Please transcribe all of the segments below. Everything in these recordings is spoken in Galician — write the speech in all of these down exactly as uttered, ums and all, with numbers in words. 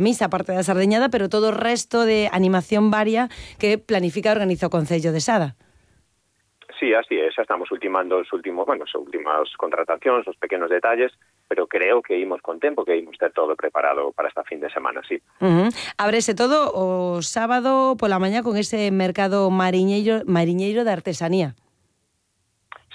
misa aparte da sardeñada, pero todo o resto de animación varia que planifica e organiza o Concello de Sada. Sí, así é, xa estamos ultimando os últimos, bueno, as últimas contratacións, os pequenos detalles, pero creo que imos con tempo, que imos ter todo preparado para esta fin de semana, sí. Uh-huh. Ábrese todo o sábado pola mañá con ese mercado mariñeiro, mariñeiro de artesanía.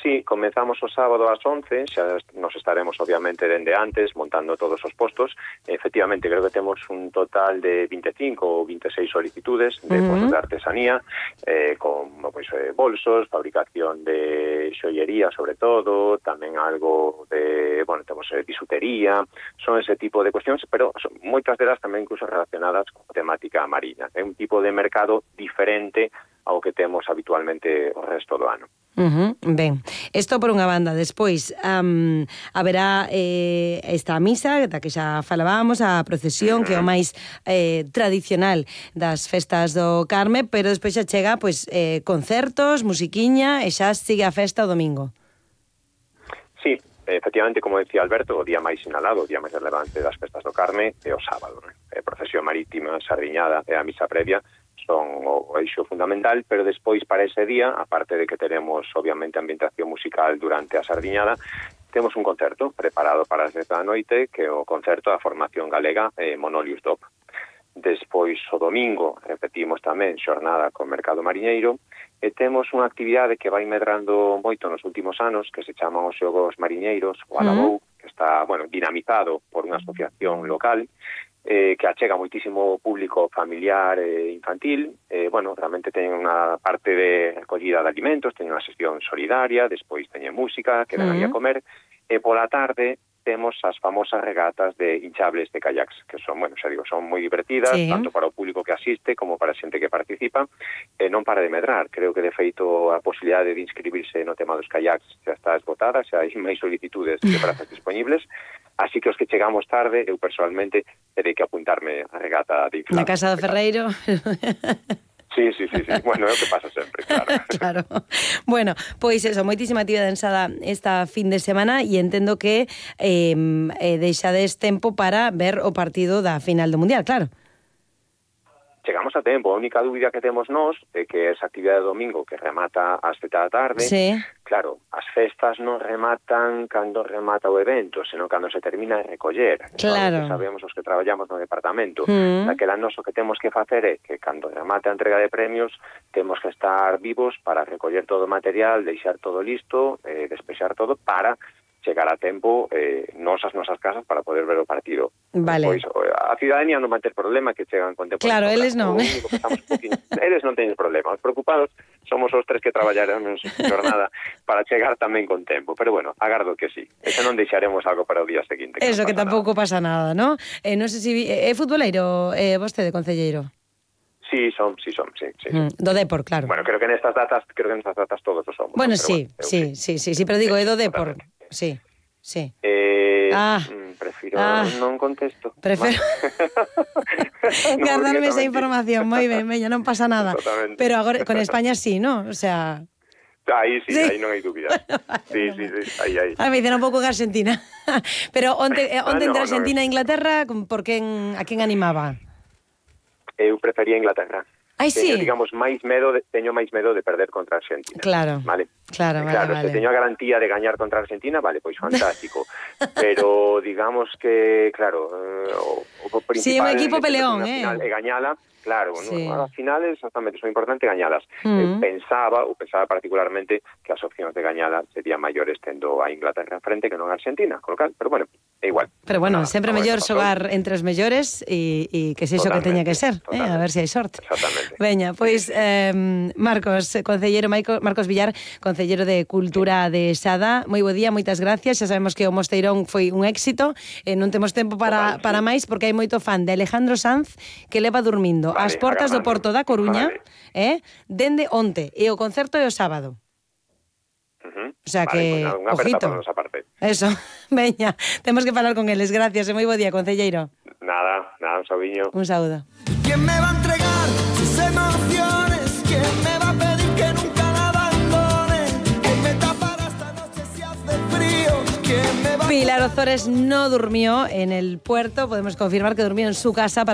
Sí, comenzamos o sábado ás once, xa nos estaremos obviamente dende antes montando todos os postos. Efectivamente, creo que temos un total de veinticinco ou veintiséis solicitudes de uh-huh. postos de artesanía, eh, con pues, eh, bolsos, fabricación de xoyería sobre todo, tamén algo de, bueno, temos eh, bisutería, son ese tipo de cuestións, pero son moitas delas tamén incluso relacionadas con temática marina. É un tipo de mercado diferente ao que temos habitualmente o resto do ano. Uh-huh. Ben, isto por unha banda. Despois um, haberá eh, esta misa da que xa falábamos, a procesión, uh-huh. que é o máis eh, tradicional das festas do Carme, pero despois xa chega pois, eh, concertos, musiquiña e xa sigue a festa o domingo. Sí, efectivamente, como decía Alberto, o día máis sinalado, o día máis relevante das festas do Carme é o sábado, né? A procesión marítima, sardiñada e a misa previa son o eixo fundamental, pero despois para ese día, aparte de que teremos obviamente ambientación musical durante a sardiñada, temos un concerto preparado para as dez da noite, que é o concerto da formación galega eh, Monolius Dop. Despois o domingo repetimos tamén xornada con Mercado Mariñeiro e temos unha actividade que vai medrando moito nos últimos anos, que se chaman os Xogos Mariñeiros, o Alabou, uh-huh. que está, bueno, dinamizado por unha asociación local, eh, que achega moitísimo público familiar e infantil. Eh, bueno, realmente teñen unha parte de recollida de alimentos, teñen unha sesión solidaria, despois teñen música, que dan uh-huh. a comer, e pola tarde temos as famosas regatas de hinchables de kayaks, que son, bueno, xa digo, son moi divertidas, sí. tanto para o público que asiste como para a xente que participa, e non para de medrar. Creo que, de feito, a posibilidade de inscribirse no tema dos kayaks xa está esgotada, xa hai máis solicitudes que prazas disponibles, así que os que chegamos tarde, eu personalmente terei que apuntarme a regata de inflables. Na Casa do Ferreiro... Sí, sí, sí, sí. Bueno, é o que pasa sempre, claro. Claro. Bueno, pois eso, moitísima actividade en Sada esta fin de semana e entendo que eh, eh, deixades tempo para ver o partido da final do Mundial, claro. Chegamos a tempo, a única dúbida que temos nós é que esa actividade de domingo que remata ás sete da tarde, sí. claro, as festas non rematan cando remata o evento, senón cando se termina de recoller. Claro. Que sabemos os que traballamos no departamento. Mm. Daquela nos o que temos que facer é que cando remate a entrega de premios temos que estar vivos para recoller todo o material, deixar todo listo, eh, despexar todo para chegar a tempo eh, nos as nosas casas para poder ver o partido. Vale. Pois, a cidadanía non vai ter problema que chegan con tempo. Claro, eles non. O único que estamos un poquinho, eles non teñen problema. Os preocupados somos os tres que traballaremos jornada para chegar tamén con tempo. Pero bueno, agardo que sí. Eso non deixaremos algo para o día seguinte. Que Eso, no que tampouco nada. Pasa nada, ¿no? Eh, non sei se... É futboleiro eh, vostede, concelleiro? Sí, son, sí, son, sí, sí. Mm, do Depor, claro. Bueno, creo que nestas datas, creo que nestas datas todos o somos. Bueno, ¿no? sí, bueno, sí, sí, sí, sí, pero digo, é do Depor. Sí, sí. Eh, ah, prefiro ah, non contesto. Prefiro no, guardarme esa información, moi ben, meña, non pasa nada. Pero agora con España sí, ¿no? O sea... Aí sí, sí. aí non hai dúbida. Bueno, vale, sí, sí, sí, aí, aí. A mí dicen un pouco que Argentina. Pero onte, onte ah, no, entre Argentina no, e Inglaterra, por quen, a quen animaba? Eu prefería Inglaterra. Ai, sí. Teño, digamos, máis medo de, teño máis medo de perder contra Argentina. Claro. Vale. Claro, vale, claro, vale. se teño a garantía de gañar contra Argentina, vale, pois fantástico. Pero digamos que, claro, o, o principal... Sí, un equipo peleón, eh. Final é gañala, claro, sí. no, as finales exactamente son importantes gañalas. Mm. Eh, pensaba, ou pensaba particularmente que as opcións de gañala serían maiores tendo a Inglaterra en frente que non a Argentina, con lo cal, pero bueno, é igual. Pero bueno, nada, sempre mellor xogar entre os mellores e, e que se iso que teña que ser, eh, a ver se hai sorte. Exactamente. Veña, pois eh, Marcos, concellero Marcos Villar, concellero de Cultura de Sada, moi bo día, moitas gracias. Xa sabemos que o Mosteirón foi un éxito, eh, non temos tempo para, para máis porque hai moito fan de Alejandro Sanz que leva dormindo vale, as portas do Porto da Coruña, vale. eh, dende onte, e o concerto é o sábado. Uh-huh. O sea vale, que, pues nada, ojito. Eso, veña, temos que falar con eles. Gracias, e moi bo día, concelleiro. Nada, nada, un sabiño. Un saúdo. ¿Quién me va a entregar sus emociones? ¿Quién me va a pedir que nunca la abandone? ¿Quién me tapará esta noche si hace frío? ¿Quién me va a Pilar Ozores no durmió en el puerto, podemos confirmar que durmió en su casa para